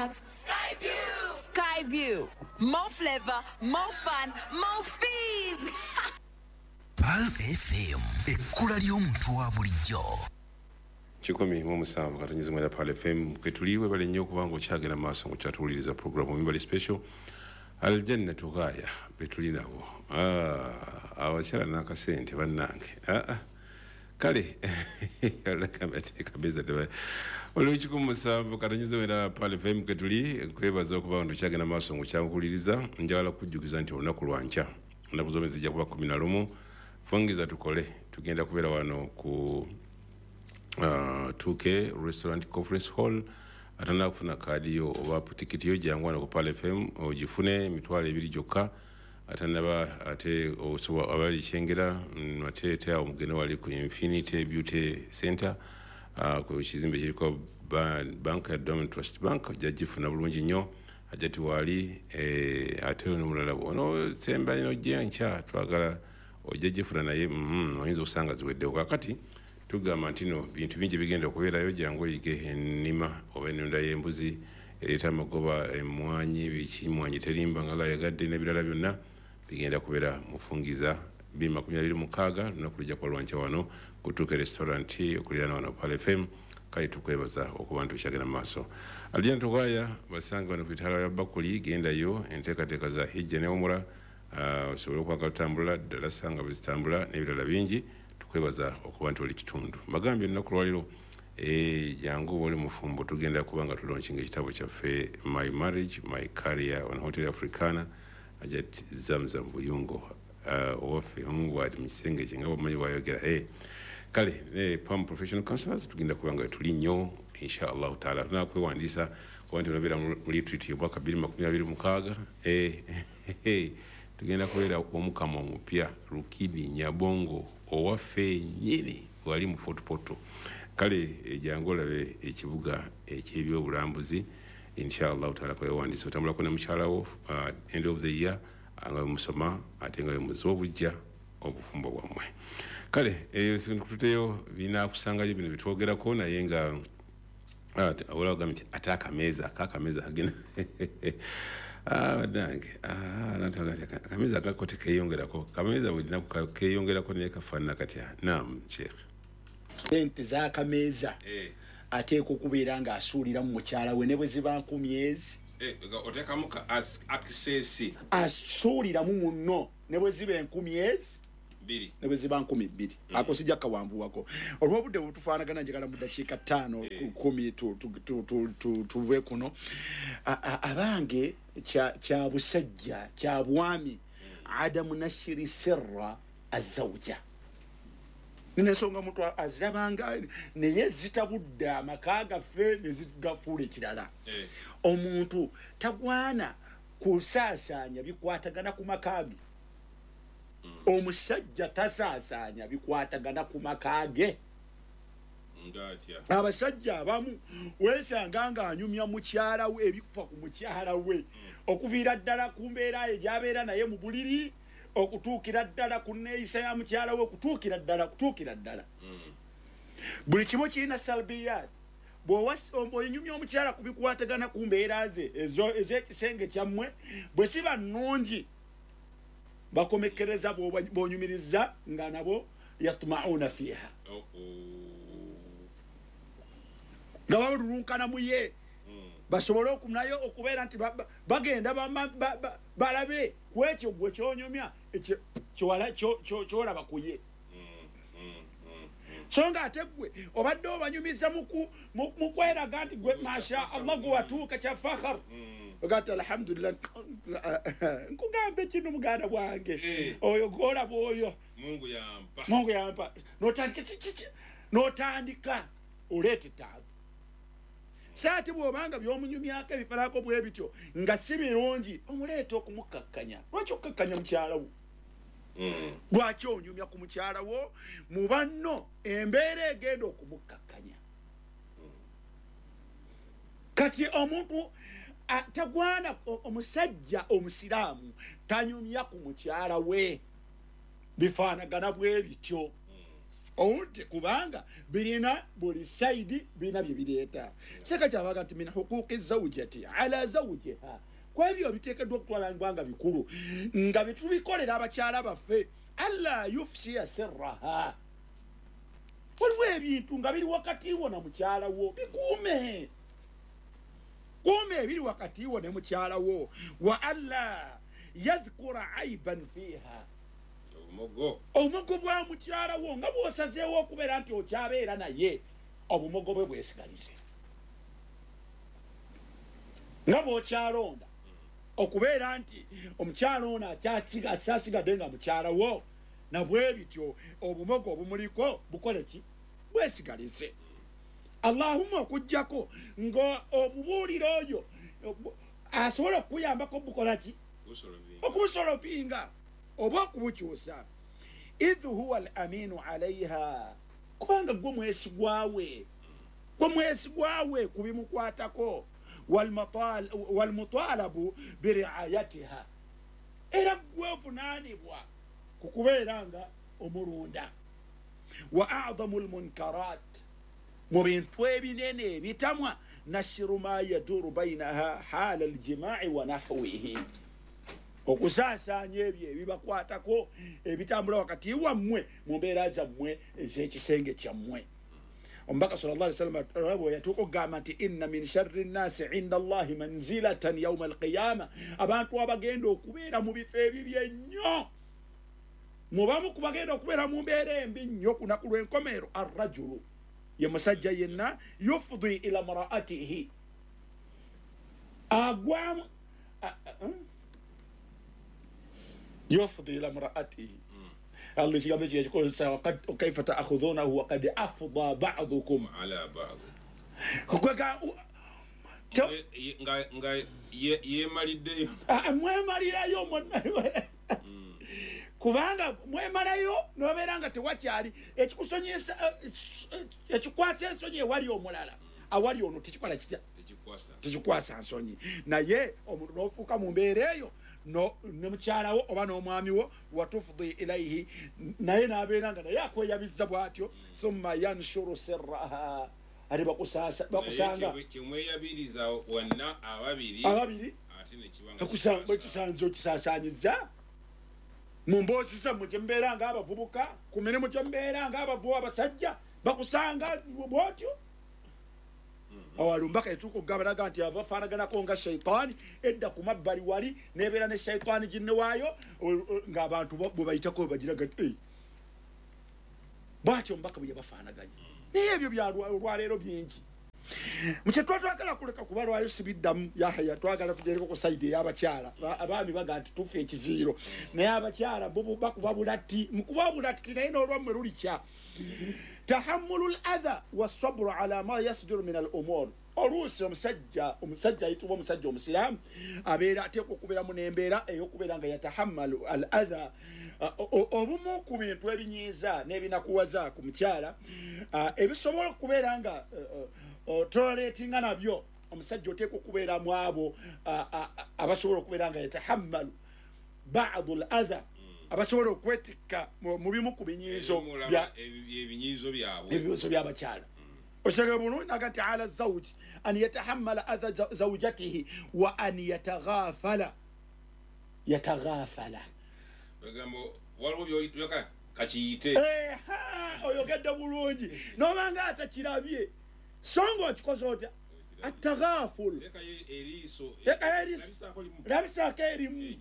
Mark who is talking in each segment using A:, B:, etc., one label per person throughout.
A: have Skyview. Skyview. More flavor, more fun, more fees.
B: Pearl FM, ekkula ly'omuntu wa bulijjo.
C: 107.9 Pearl FM kwetuli. Webale nnyo okubanga okyagenda mu maaso ng'okyatuwuliriza programu Mimbali Special. Aljannatu Ghaya betuli nabo. Abakyala n'akasente bannange. Kale olwo 107.9 Pearl FM kwetuli. Nkwebaza okuba nga okyagenda mu maaso ng'okyakuwuliriza. Njagala kujjukiza nti olunaku lwankya, ennaku z'omwezi zijja kuba 11, fungiza tukole, tugenda kubeera wano ku 2K Restaurant Conference Hall. Atana kufuna kaadi yo oba tikiti yo, jangu wano ku Pearl FM ogifune, 20,000 gyokka. Atanaba ate osobola abali Kyengera, ate ate awo mugende wali ku Infinity Beauty Center, ku kizimbe kiriko bank ya Diamond Trust Bank, ojja gifuna bulungi nnyo. Ajati wali ate n'omulala ono semba ino ojja twagala ojja gifuna naye oyinza okusanga ziweddewo. Kaakati tugamba nti no bintu bingi bigenda okubeerayo, jangu oyige ennima oba ennunda y'embuzi ereeta amagoba, emmwanyi, biki, mmwanyi terimba nga layagadde n'ebirala byonna bigenda kubeera mufungiza 2026, lunaku lujja kuba lwankya wano ku 2K Restaurant okuliraana wano Pearl FM. Kale tukwebaza okuba nti okyagenda mu maaso. Aljannatu Ghaya basanga wano ku itaala ya Bakuli, gendayo enteekateeka za hijja ne umura, osobole okuba nga tutambula ddala sanga bwe zitambula n'ebirala bingi. Tukwebaza okuba nti oli kitundu. Mbagambye olunaku lwaliro, jangu oli mufumbo, tugenda kuba nga tulaunchinga ekitabo kyaffe My Marriage My Career on Hotel Africana. Ajat Zamzam Buyungo, owaffe omubwati mu kisenge kye nga bwamanyi bwayogera. Kale PAM Professional Counselors tugenda kuba nga tuli nnyo insha Allahu taala. Tunakwewandiisa kuba nti onabeera mu retreat y'omwaka 2026. Tugenda kubeera omukama omupya Rukidi Nyabongo owaffe nnyini wali mu Fort Portal. Kale jangu olabe ekibuga eky'ebyobulambuzi insha Allahu taala. Kwewandiisa otambulako ne mukyala wo, end of the year nga musoma ate nga muziwa obujja obufumbo bwammwe. Kale nkututeyo binaakusangayo bino bitwogerako, naye nga olagambye nti ate akameeza kakameza kagenda bannange, akameeza akako tekeyongerako, kameeza buli lunaku keyongerako naye kafaanana katya. Naam Sheikh.
D: Sente z'akameeza ateekwa okubeera ng'asuulira mu mukyala we ne bwe ziba 10,000 ezi.
C: Oteekamu ka access.
D: Asuuliramu munno ne bwe ziba 10,000 ezi
C: 2,
D: ne bwe ziba 2,000. Ako sijja kawanvuwako olw'obudde bwe tufaanagana. Njagala mu ddakiika 5, 10 tuve kuno. Abange, kya busajja, kya bwami, adamu nashiri sirra azawuja. Nina ensonga muntu azirabanga naye zitabudde amaka gaffe ne zigafuula ekirala. Omuntu tagwana kusaasaanya bikwatagana ku maka ge. Omusajja tasaasaanya bikwatagana ku maka ge.
C: Ngatya?
D: Abasajja abamu weesanga ng'anyumya mukyala we ebikufa ku mukyala we, okuviira ddala ku mbeera ye gy'abeera naye mu buliri, okutuukira ddala ku neeyisa ya mukyala we, okutuukira ddala kutuukira ddala buli kimu kirina salbiyat. Bw'onyumya omukyala ku bikwatagana ku mbeera ze ez'ekisenge kyammwe, bwe siba nnungi, bakomekkereza bw'onyumiriza nga nabo yatmauna fiiha, nga balulunkana mu ye, basobole nayo okubeera nti bagenda balabe ku ekyo gwe kyonyumya kyolaba ku ye. So nga ate gwe obadde obanyumiza mu kweraga nti gwe masha Allah gwe watuuka kya fakhar, ogati alhamdulillah. Nkugambe kino, muganda bwange, oyo gwolaba oyo,
C: Mungu yampa.
D: Mungu yampa. Notandika notandika oleeta etaabu. Saati bw'obanga by'omunyumyako ebifarako bwe bityo nga si birungi, omuleeta okumukkakkanya. Lwaki okukkakkanya mukyala wo? Lwaki onyumya ku mukyala wo mu banno embeera egenda okumukkakkanya? Kati omuntu tagwana, omusajja omusiraamu tanyumya ku mukyala we bifaanagana bwe bityo. Owulidde? Kubanga birina buli saidi, birina bye bireeta. Seka kyabaga nti min huquqi zawjati ala zawjiha, kwebyo biteekeddwa okutwalangwa nga bikulu nga bitubikolera abakyala baffe, alla yufshiya sirraha. Waliwo ebintu nga biri wakati wo na mukyala wo, bikuume, kuume ebiri wakati wo ne mukyala wo. Wa alla yadhkura aiban fiha, obumogo bwa mukyala wo nga bw'osazeewo okubeera nti okyabeera naye, obumogo bwe bwesigalize. Nga bw'okyalonda okubeera nti omukyala ono akyasigadde nga mukyala wo, nabwe bityo obumogo obumuliko bukole ki? Bwesigalize. Allahumma okuggyako nga obubuulira oyo asobola okukuyambako bukola ki? Okubusolopinga oba okubukyusa. Idh huwa al aminu alaiha, kubanga gwe mwesigwawe, gwe mwesigwawe ku bimukwatako. Walmutalabu biriayatiha, era gwe ovunaanibwa ku kubeera nga omulunda. Wa adamu lmunkarat, mu bintu ebinene ebitamwa, nashiru ma yaduru bainaha hala aljimai wa nahwihi, okusaasaanya ebyo ebibakwatako ebitambula wakati wammwe mu mbeera zammwe ez'ekisenge kyammwe. Omubaka sallallahu alaihi wasallam bwe yatuuka okugamba nti inna min sharri nnasi inda Allahi manzilatan yauma alqiyama, abantu abagenda okubeera mu bifo ebibi ennyo, mubamu ku bagenda okubeera mu mbeera embi nnyo ku lunaku lw'enkomerero, arrajulu, ye musajja yenna, yufdi ila mraatihi, agwamu yufdi ila mraatihi. Allah ekigambo ekyo yakikozesa, kaifa taakhudhunahu wakad afda badukum
C: ala ba'd, nga yemaliddeyo,
D: mwemalirayo mwonna, kubanga mwemalayo nobeera nga tewakyali ekikusonyesa, ekikwasa ensonyi ewali omulala, awali ono tekikola kitya? Tekikwasa nsonyi. Naye omuntu n'ofuuka mu mbeera eyo ne mukyala wo oba n'omwami wo, watufdi ilaihi, naye n'abeera nga naye akweyabizza bw'atyo. Thumma yanshuru sirraha, ate bakusanga
C: kyemweyabiriza wanna ababiri,
D: ababiri ate okisaasaanyiza mu mboozi zammwe gye mubeera ng'abavubuka, ku mirimu gye mubeera ng'abavubu abasajja, bakusanga bw'otyo. Awalumbaka etuuka okugamba nti abafaanaganako nga shaitaani edda ku mabbali wali nebeera ne shaitaani ginne waayo, ng'abantu bwe bayitako bagiraga bw'atyo omubaka bwe yabafaanaganya. Naye ebyo byalwaleero bingi mukye twatwagala kuleka kuba lwayo sibiddamu. Yahaya twagala tugereko ku sayidi ey'abakyala. Abaami baga nti tufa ekiziiro, naye abakyala bo bakuba bulatti, mukuba bulatti naye n'olwammwe lulikya. Tahammulu l adha wasabru ala ma yasduru min al umur. Oluusi omusajja ayitibwa omusajja omusiraamu abeera ateekwa okubeeramu n'embeera ey'okubeera nga yatahammalu al adha, obumu ku bintu ebinyiiza n'ebinakuwaza ku mukyala, ebisobola okubeera nga toleratinga nabyo. Omusajja oteekwa okubeeramu abo abasobola okubeera nga yatahammalu badu l adha, abasobola okwetikka mu bimu ku binyiizo ebinyiizo by'abakyala. Osege bulungi naga nti ala zawji an yatahammala adha zawjatihi wa an yataghafala, yataghafala
C: kakiyite
D: oyogedde bulungi nobanga atakirabye, so nga okikoze otya? Ataghaful, labisaako erimu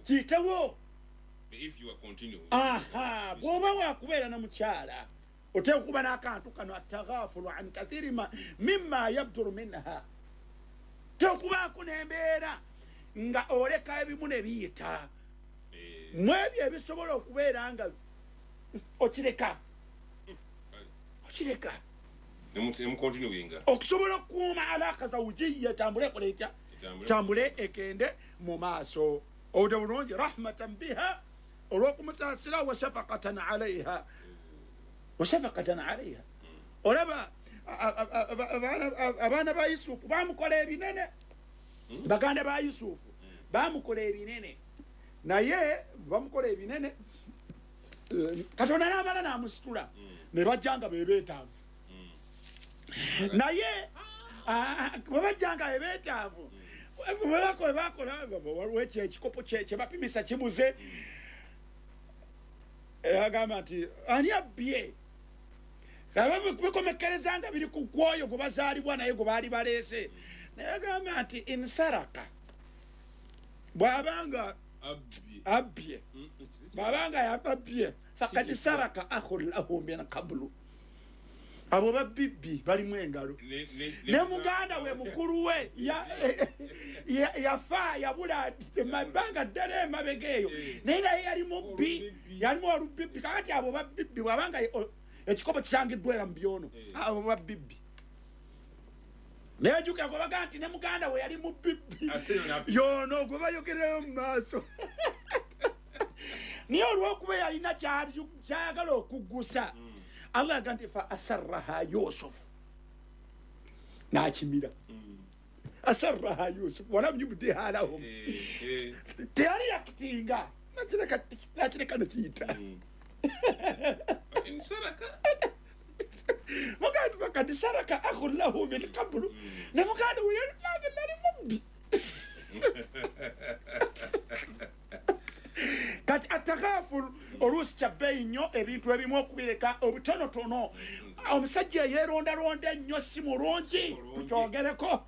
D: kiyitewo. Aha, bw'oba wakubeera na mukyala oteeka okuba n'akantu kano ataghafulu an kathiri mimma yabduru minha, tekubaako n'embeera nga oleka ebimu ne biyita mu ebyo ebisobola okubeera nga okireka, okireka okusobola okukuuma alaka zawujiya etambule ekola etya? Tambule ekende mu maaso. Obudde bulungi rahmatan biha, olw'okumusaasira, wa shafaqatan alaiha, wa shafaqatan alaiha. Olaba abaana ba Yusufu bamukola ebinene, baganda ba Yusufu bamukola ebinene, naye bamukola ebinene. Katonda n'amala n'amusitula ne bajja nga bebeetaavu. Naye bwe bajja nga bebeetaavu bwe bakola waliwo ekikopo kye bapimisa kibuze, agamba nti ani abbye? Bikomekkereza nga biri ku kwoyo gwe bazaalibwa naye gwe baali baleese. Naye agamba nti insaraka, bw'abanga abbye, bw'abanga yababbye, fakad saraka akhun lahu min qablu. Abo babibbi balimu engalo. Ne muganda we mukulu we yafa yabula ebbanga ddala emabega eyo, naye naye yali mubbi, yalimu olubibbi. Kakati abo babibbi bw'abanga ekikopo kisangiddwa era mu byono, abo babibbi. Naye jjukira gwe baga nti ne muganda we yali mubibbi yono gwe bayogererayo mu maaso. Naye olw'okuba yalina kyayagala okuggusa, Allah agamba nti fa asarraha Yusuf, n'akimira. Asarraha Yusuf walam yubdiha lahum, teyali yakitinga, nakireka nekiyita. Muganda fakad saraka akhun lahu min qablu, ne muganda we yali mubbi. Kati atagaful oluusi kya bbeeyi nnyo ebintu ebimu okubireka obutonotono. Omusajja yeerondalonda ennyo si mulungi, tukyogereko.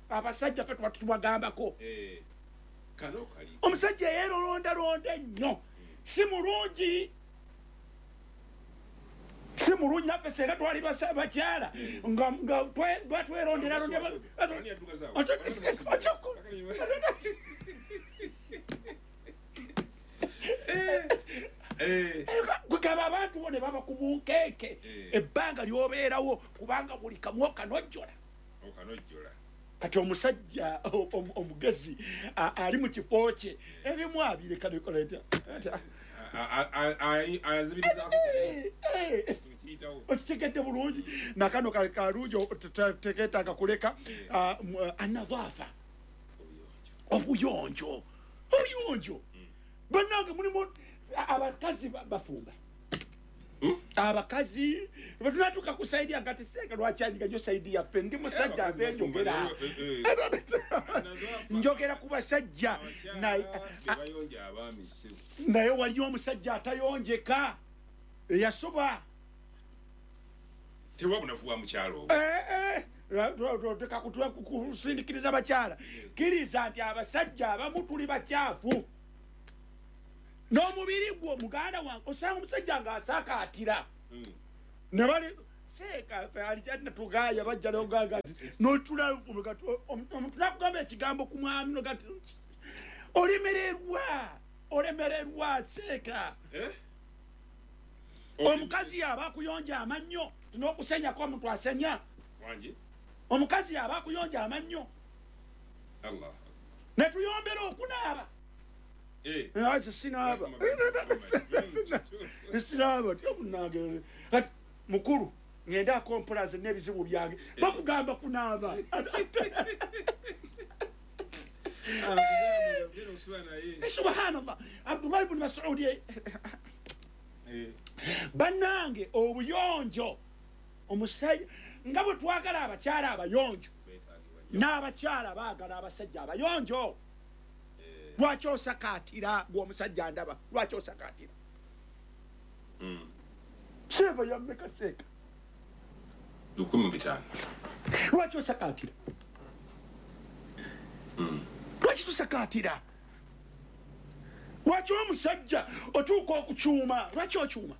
D: Abasajja ffe tuba tubagambako. Omusajja yeerondalonda ennyo si mulungi, si mulungi. Naffe senga twali bakyala nga batweronderalonda. Kugaba abantu bo ne baba ku bunkeeke ebbanga ly'obeerawo, kubanga buli kamu okanojjola. Kati omusajja omugezi ali mu kifo kye ebimu abireka nekola okitegedde bulungi. Nakano kalungi tekeetaaga kuleka. Anadhaafa, obuyonjo, obuyonjo. Bannange mulimu abakazi bafumba, abakazi bwetunatuuka ku saidi yange ati senga lwakyanyiga nnyo saidi yaffe, ndi musajja nze njogera njogera ku basajja. Naye waliyo omusajja atayonjeka eyasoba. Kusindikiriza bakyala, kkiriza nti abasajja abamu tuli bakyafu n'omubiri gwo. Muganda wange osanga omusajja ng'asaakaatira ne bali seeka alijatugaya bajja nogamba nti notula omuntu nakugamba ekigambo ku mwami noga nti olemererwa, olemererwa seeka. Omukazi yaba akuyonja amannyo n'okusenyako omuntu asenya. Omukazi yaba akuyonja amannyo ne tuyombera okunaaba. Sinaaba sinaaba tyomunange mukulu ngenda akompulaze n'ebizibu byange bakugamba kunaaba. Subhanallah. Abdullah ibn Mas'ud, bannange obuyonjo omusajja nga bwe twagala abakyala abayonjo, n'abakyala baagala abasajja abayonjo. Lwaki osakaatira gw'omusajja ndaba? Lwaki osakaatira? Seeva yammeka seeka?
C: 15,000.
D: Lwaki osakaatira? Lwaki tusakaatira? Lwaki omusajja otuuka okukyuma? Lwaki okyuma?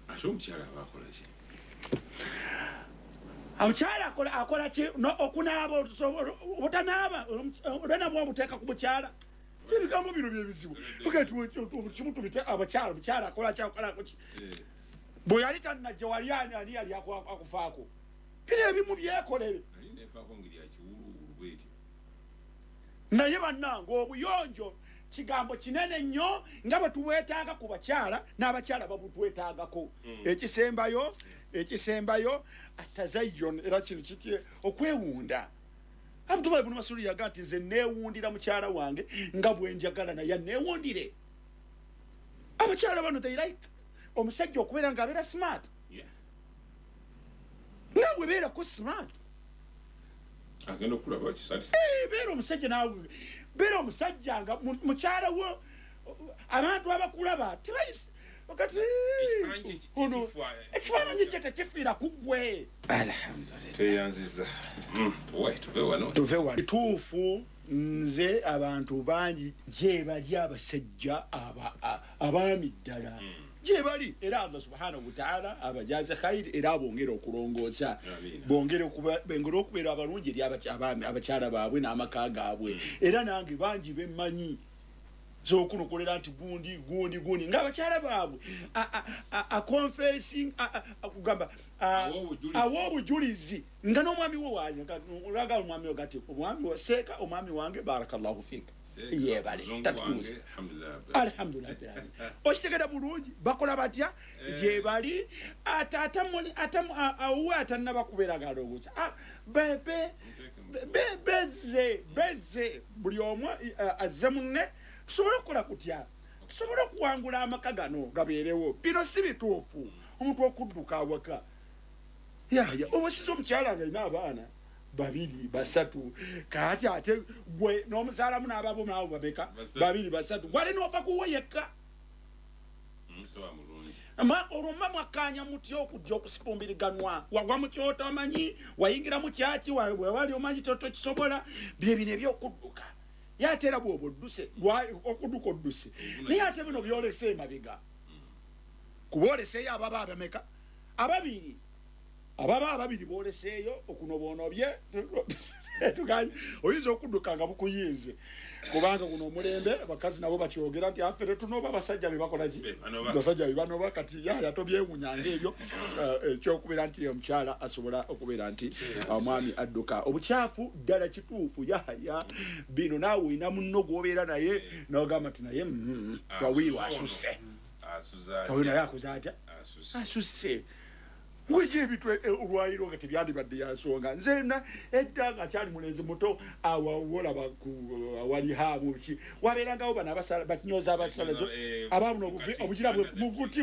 C: Ate omukyala aba akola ki?
D: Omukyala akola ki? Okunaaba obutanaaba olwenabwa obuteeka ku mukyala. Ebigambo bino byebizibu. Kimu tubite abakyala, omukyala akola ki, akola ki? Bwe yali tannajja wali ani ani yali akufaako? Bino ebimu byekolere. Naye bannange obuyonjo kigambo kinene nnyo nga bwe tubwetaaga ku bakyala n'abakyala babutwetaagako. Ekisembayo, ekisembayo atazayyun, era kino kiti okwewunda. Abdullah ibn Mas'ud yaga nti nze neewundira mukyala wange nga bwe njagala naye neewundire. Abakyala bano they like omusajja okubeera nga abeera smart. Naawe beerako smart.
C: Agenda okulaba kisati.
D: Beera omusajja naawe, beera omusajja nga mukyala wo abantu abakulaba tebayisa wakati ekifaananyi kye tekifiira ku ggwe. Alhamdulillah.
C: Tweyanziza. Tuve wano.
D: Tuve wano. Kituufu nze abantu bangi gye bali abasajja abaami ddala. Gye bali era Allah subhanahu wa ta'ala abajaze khairi era abongere okulongoosa. Bongere okubeera abalungi eri abakyala baabwe n'amaka gaabwe. Era nange bangi bemmanyi zokunokolera nti gundi gundi gundi ng'abakyala baabwe a confessing akugamba awa obujulizi nga n'omwami we waga omwami we gati omwami we seeka omwami wange barakallahu fik yebale tatuuze alhamdulillah. Okitegera bulungi bakola batya gye bali awuwe atannaba kubeera galowooza beze buli omu azze munne. Tusobola okukola kutya? Tusobola okuwangula amaka gano gabeerewo. Bino si bituufu omuntu okudduka awaka. Yaya obasiza omukyala nga alina abaana 2 3 kaati ate gwe n'omuzaalamu n'ababo nabo babeka 2 3 gwali n'ofa kuwe yekka. Olwo mma mwakkaanya mutya okujja okusifumbiriganwa? Wagwa mu kyotomanyi, wayingira mu kyaki, wewali omanyi tokisobola. Bye bino ebyokudduka. Yate era bw'oba odduse okudduka odduse, naye ate bino byolese emabega kuba oleseeyo ababa abameka ababiri, ababa ababiri booleseeyo okunoboonobye. Oyinza okudduka nga bukuyinze kubanga guno omulembe abakazi nabo bakyogera nti affe tetunoba abasajja be bakola ki, abasajja be banoba. Kati yaya tobyewunyanga ebyo ekyokubeera nti omukyala asobola okubeera nti omwami adduka. Obukyafu ddala kituufu yahaya bino naawe olina munno gw'obeera naye n'ogamba nti naye twawiirwa asusse, naye akoze atya asusse. Wiki ebintu olwaliro nga tebyandibadde yansonga. Nze edda nga kyali mulenzi muto awolaba awali haamu ki wabeerangawo bano bakinyoza abasalazo ababuno obugira muguti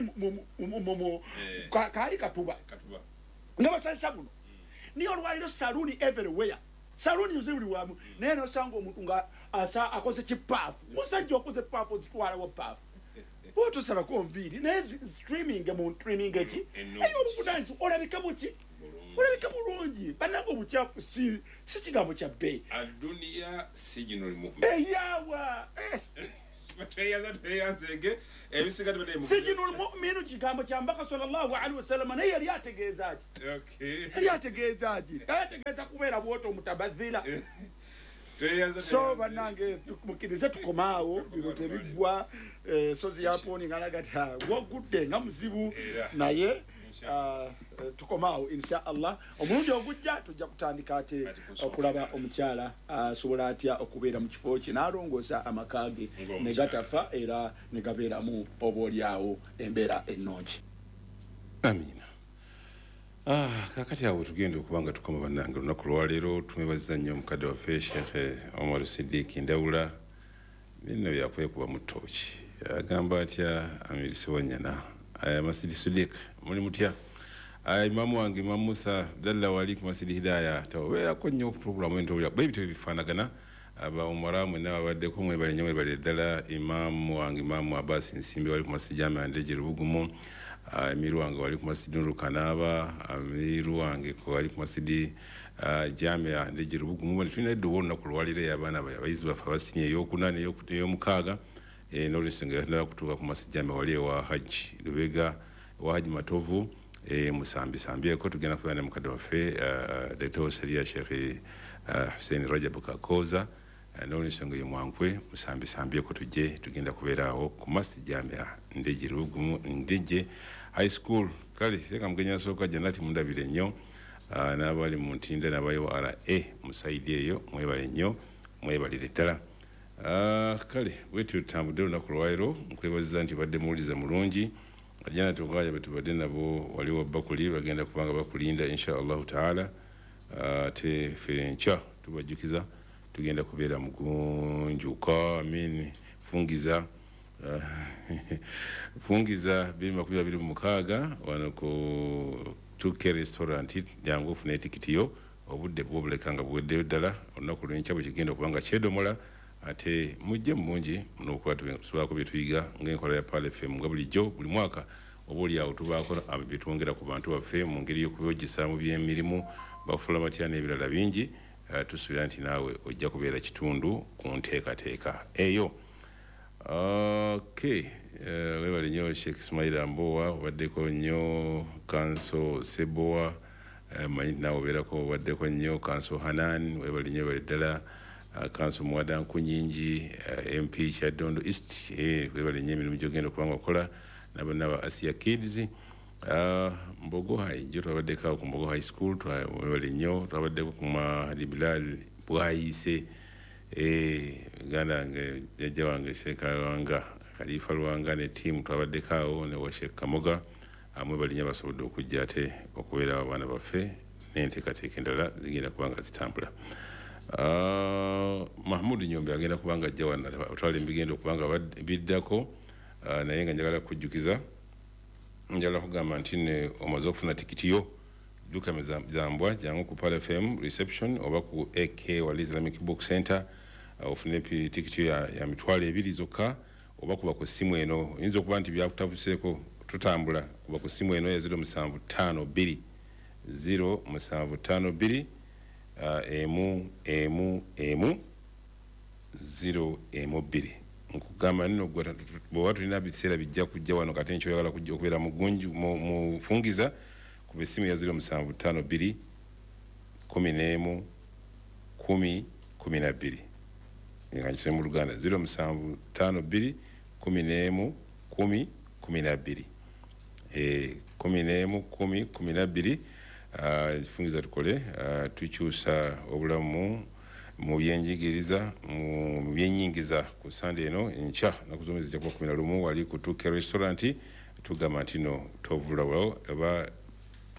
D: kaali katuba nga basalisa buno. Niye olwaliro saluuni everywhere, saluuni nze buli wamu, naye nosanga omuntu nga akoze kipaafu. Musajja okoze paafu ozitwalawo paafu otosalako nviiri naye streaming mu streaming eki eyo obuvunaanyizibwa olabika buki, olabika bulungi. Bannange obukyafu si kigambo kya bbeeyi.
C: Aduniya sijinul mu'min
D: eyawa sijinul mu'minu kigambo kya Mbaka sallallahu alaihi wasallam, naye yali ategeeza ki? Yali ategeeza ki? Ategeeza kubeera bw'oto omutabazira. So bannange mukirize tukomaawo bino tebiggwa. Sozi yaponi ngalaga ti gwogudde nga muzibu naye tukomaawo insha Allah. Omulundi ogujja tujja kutandika ate okulaba omukyala asobola atya okubeera mu kifo kye n'alongoosa amaka ge ne gatafa era ne gabeeramu oboolyawo embeera ennungi.
C: Amiina. Kakati awo tugenda okuba nga tukoma bannange olunaku lwaleero. Tumwebaziza nnyo omukadde waffe Sheikh Omar Siddiq Ndawula. Bino byakwekuba mu ttooki. Agamba atya Amiri Sewanyana Masidi Siddiq muli mutya? Imamu wange Imam Musa Abdallah wali ku Masidi Hidaya taweerako nnyo pulogulaamu entowulira bwe bityo bifaanagana. Aba Umara mwenna babaddeko mwebale nnyo mwebale ddala. Imamu wange Imamu Abbas Nsimbi wali ku Masidi Jamia Ndeje Lubugumu. Amiru wange wali ku Masidi Nuru Kanaaba. Amiru wange wali ku Masidi Jamia Ndeje Lubugumu. Bali tulina edduwa olunaku lwaleero abaana abayizi baffe abasiniya ey'okuna n'ey'omukaaga n'olwensonga yatunala kutuuka ku Masidi Jamia wali ewa Hajji Lubega ewa Hajji Matovu musambisambyeko. Tugenda kubeera ne mukadde waffe Dr. Seria Sheikh Hussein Rajab Kakoza n'olwensonga ye mwankwe musambisambyeko tujje tugenda kubeera awo ku Masidi Jamia Ndeje Lubugumu Ndeje High School. Kale seeka mugenyi asooka Jannati mundabire nnyo n'abali mu Ntinda n'abayi wa RA musaidi eyo mwebale nnyo mwebalire ddala. Kale bwetyo tutambudde olunaku lwaleero. Nkwebaziza nti badde muwuliza mulungi. Ajana tugaya betubadde nabo waliwo bakuli bagenda kubanga bakulinda insha Allahu taala. Ate ffe enkya tubajjukiza tugenda kubeera mugunjuka amin fungiza Fungiza 2026 wano ku 2K restaurant, jangu ofune etikiti yo. Obudde bwobuleka nga buweddeyo ddala. Olunaku lwenkya bwe kigenda okuba nga kyedomola, ate mujje mu bungi n'okuba tusobolako bye tuyiga ng'enkola ya Pearl FM. Nga bulijjo buli mwaka, oba oli awo tubaako bye twongera ku bantu baffe mu ngeri y'okubojjesa mu by'emirimu, bafuula batya n'ebirala bingi. Tusuubira nti naawe ojja kubeera kitundu ku nteekateeka eyo. Okay, webale nnyo Sheikh Ismail Ambowa, obaddeko nnyo. Kanso Sebowa, manyi nti naawe obeerako, obaddeko nnyo. Kanso Hanan, webale nnyo, webale ddala. Kanso Muwada Nkunyingi, MP Kyaddondo East, webale nnyo emirimu gyogenda okuba nga okola nabonna ba Asia Kids. Mbogo High, jo twabaddeko awo ku Mbogo High School, webale nnyo. Twabaddeko ku Mahadi Bilal Bwayise, muganda wange, jjajja wange Sheikh Lwanga, Khalifa Lwanga ne ttiimu, twabaddeko awo ne wa Sheikh Kamoga. Mwebale nnyo abasobodde okujja ate okubeerawo abaana baffe, n'enteekateeka endala zigenda kuba nga zitambula. Mahmud Nyombe agenda kuba nga ajja wano otwala ebigenda okuba nga biddako. Naye nga njagala kujjukiza, njagala kugamba nti ne omaze okufuna tikiti yo, dduka zambwa, jangu ku Pearl FM reception oba ku AK wali Islamic Book Center, ofune tikiti yo ya 20,000 zokka, oba kuba ku ssimu eno. Oyinza okuba nti byakutabuseeko tutambula, kuba ku ssimu eno ya 0752 0752 1 1 1 0 1 2. Nkugamba nno gwe bw'oba tulina biseera bijja kujja wano kati nkyoyagala kujja okubeera mu gunju mu fungiza, kuba essimu ya 0752 11 10 12. Nga nkisome mu Luganda, 0752 11 10 12, 11 10 12. Fungiza tukole, tukyusa obulamu mu byenjigiriza, mu byenyingiza. Ku Sande eno enkya, naku z'omwezi zijja kuba 11, wali ku 2K restaurant. Tugamba nti no tovulawo, oba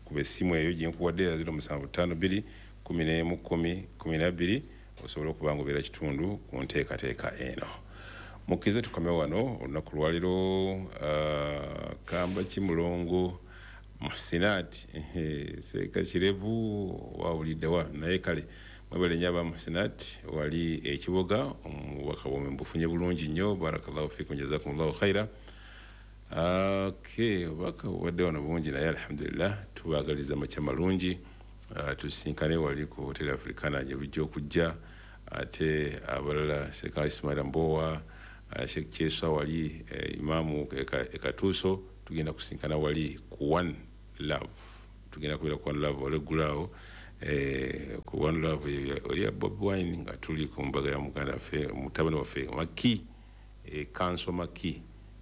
C: kuba essimu eyo gyenkuwadde ya 0752 11 10 12, osobola okuba nga obeera kitundu ku nteekateeka eno. Mukkirize tukome wano olunaku lwaliro. Kamba Kimulongo Muhsinat, Seeka Kirevu, wawuliddewa? Naye kale mwebale nnyo aba Muhsinat wali ekiboga, omubaka bwomwe mbufunye bulungi nnyo. Barakallahu fikum, jazakumullahu khaira. Okay, obubaka bubadde wano bungi, naye alhamdulillah, tubaagaliza makya malungi. Tusinkane wali ku Hotel Africana gye bujja okujja. Ate abalala, Sheikh Ismail Mbowa, Sheikh Kyeswa wali, imamu ekatuuso, tugenda kusinkana wali ku One Love. Tugenda kubeera ku One Love olweggulaawo, ku One Love oli ya Bob Wine, nga tuli ku mbaga ya muganda waffe, mutabani waffe Maki, Kanso Maki.